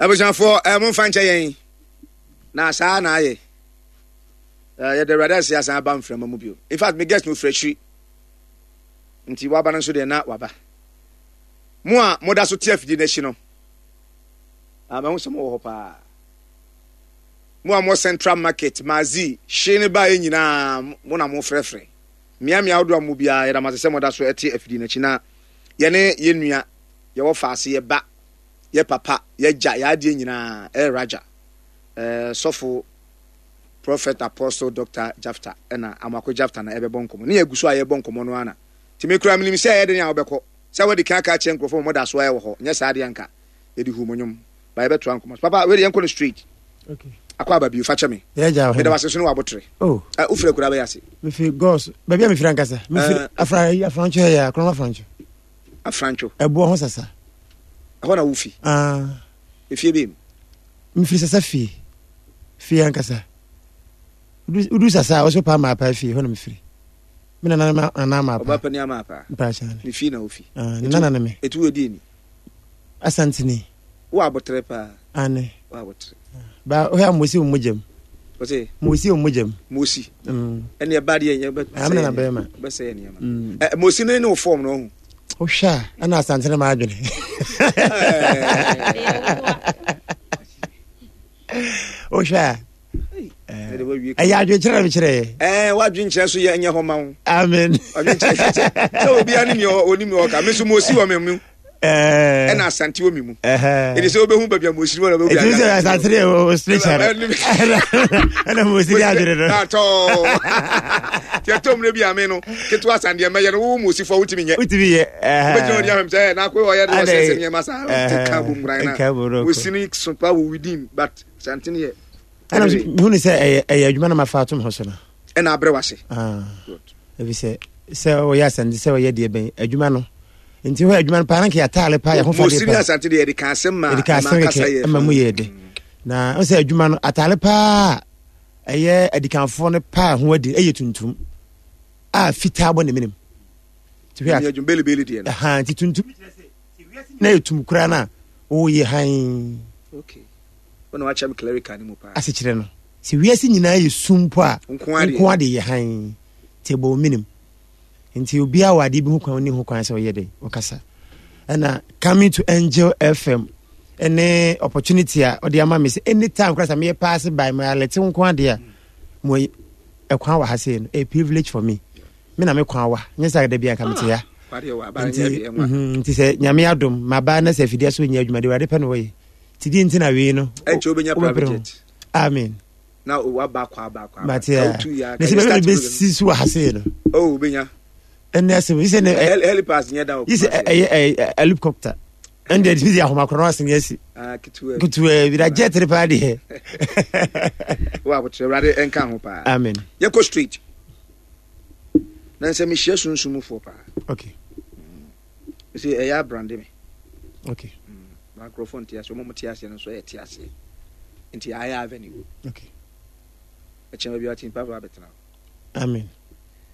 Abusuafoɔ, eh, momfa nkyɛ yɛn. Na saa na ayɛ. Eh, yɛda Awurade ase asan aba mframa mu bio. In fact, me guest no firi akyiri. Nti waba no nso deɛ na waba. Mo a moda so te afidie no akyi no, ah, mahu sɛ mowɔ hɔ paa. Mo a mo Central Market, Mazi, hye ne baeɛ nyinaa, mo na mofrɛfrɛ. Mmeammea ahodoɔ a mo biara, yɛda mo ase sɛ moda so te afidie no akyi na yɛne yɛn nua, yɛwɔ faase, yɛba yɛ papa, yɛ gya, yɛ adeɛ nyinaa, ɛyɛ Raja, eh, sɔfo, Prophet, Apostle, Doctor Jafta, ɛna Amoako Jafta na ɛbɛbɔ nkɔmmɔ. Ne yɛgu so a yɛbɔ nkɔmmɔ no ana. Nti me koraa menim sɛ ɛyɛ den a wobɛkɔ. Sɛ wadi kan aka akyerɛ nkurɔfoɔ ma wɔda so ara wɔ hɔ. Nyɛ saa deɛ anka yɛde huu mo nnwom. Ba yɛbɛtoa nkɔmmɔ so. Papa, wei deɛ yɛnkɔ no straight. Okay. Akɔ aba bio, fa kyɛ me. Yɛ gya Meda wase so ne w'abotere. Oh. Uh, wofiri akura bɛyɛ ase. Mefiri Gɔs, baabi a mefiri ankasa. Mefiri uh, Afra, Afrantwo yɛ, Akorɔm Afrantwo. Afrantwo. Ɛboɔ ho sasa. Ɛhɔ na wofi? Ah. Efie bem? Mefiri sasa fie. Fie ankasa. Wodu sasa a, wɔsɛ paa maapa fie, hɔ na mefiri. Me nana nana maapa. Ɔba pani amaapa. Mpakyɛ. Ne fie na wofi. Ah, ne nana ne me. Etu wɔ die ni. Asantini. Wo abotere paa. Ane. Wo abotere. Ba wohwɛ a mosi wo mogyam. Ɔse. Mosi wo mogyam. Mosi. Mm. Ɛne ɛba deɛ nyɛ bɛ. Amena na bɛrima. Bɛsɛ yɛ nneɛma. Mm. Ɛ mosi ne ne wo fɔm no ɔho. Wohwɛ a ɛna asante no ma adwene. Wohwɛ a. Ɛyɛ adwenkyerɛ na mekyerɛ yɛ. Ɛɛ wadwenkyerɛ so yɛ nyɛ hɔ ma wo. Amen. Wadwenkyerɛ sɛ obiara ne nea onim nea ɔka. Me nso mosi wɔ me mu. Ɛna asante wɔ me mu. Ɛdi sɛ wobɛhu baabi a mosi wɔ na wobɛhu baabi a asante deɛ wɔ spiritual ɛna mosi de adwene no. Atɔ. Tiɛ tɔ mmerɛ bi a me no ketewa asan deɛ mɛyɛ no wo mosi fɔ wotumi nyɛ. Wotumi yɛ. Wobɛgyina ɔdi ahwɛm sɛ na akɔ ɔyɛ de ɔsɛ sɛ nneɛma saa. Ka bom ran na. Mosi no so pa wɔ within but asante no yɛ. Ɛna mehu ne sɛ ɛyɛ ɛyɛ adwuma na mafa atom ho so no. Ɛna abrɛ wase. Ah. Ebi sɛ sɛ ɔyɛ asante sɛ ɔyɛ deɛ bɛn adwuma no. Nti hɔ adwuma no paa na nka yɛataale paa yɛ ho fa deɛ paa. Mosiri asante deɛ yɛde ka asɛm ma yɛde ka asɛm kɛkɛ ɛma mu yɛ de. Na ɔsɛ adwuma no ataale paa ɛyɛ adikanfoɔ no paa ho adi ɛyɛ tuntum a fitaa bɔ ne menem. Nti hwɛ adwuma belebele deɛ no. Ɛha nti tuntum kyerɛ sɛ na yɛ tum koraa no a wɔyɛ hann. Okay. Wo na wakyerɛ me clerical no mu paa. Asekyerɛ no, sɛ wiase nyinaa yɛ sum mpo a, nko ade yɛ hann. Nti ɛbɔ wo menem. Nti obiara wɔ adeɛ bi ho kwan ɔnni ho kwan sɛ ɔyɛ dɛ, ɔkasa. Ɛna coming to Angel FM ɛne opportunity a ɔde ama me sɛ anytime koraa sɛ meyɛ paase by my alɛte nko adeɛ a mo ɛkwan wɔ ha sei no, a privilege for me. Me na me kwan wa, nyɛ sɛ da bi anka mete ha. Ah, nti, mhm, nti sɛ nyame adom maba na sɛ afidie so nyɛ adwuma de awurade pɛ na wɔyɛ. Ti di nti na wei no. Ɛnkyɛ wobɛnya private jet. Amen. Na waba akɔ aba akɔ aba. Mate a. Na sɛ bɛbɛ bɛsi so wɔ ha sei no. Oh, wobɛnya. Ɛnɛ asɛm yi sɛ ne. Helipass nyɛ da wɔ. Yi sɛ ɛyɛ helicopter. Ɛnde ɛde bi ahomakorɔ no asene asi. Ah, ketewa. Ketewa bi na jet ne paa deɛ. Wo abotrɛ Awurade ɛnka ho paa. Amen. Yɛkɔ straight. Na nsɛ mehyia sunsumfoɔ paa. Okay. Sɛ ɛyɛ abrande me. Okay. Ba nkurɔfoɔ nte aseɛ, wɔn a wɔte aseɛ no nso ɛyɛ te aseɛ. Nti ayɛ avenue. Okay. Ɛkyɛn baabi a ɔte nipa ba abɛtena hɔ. Amen.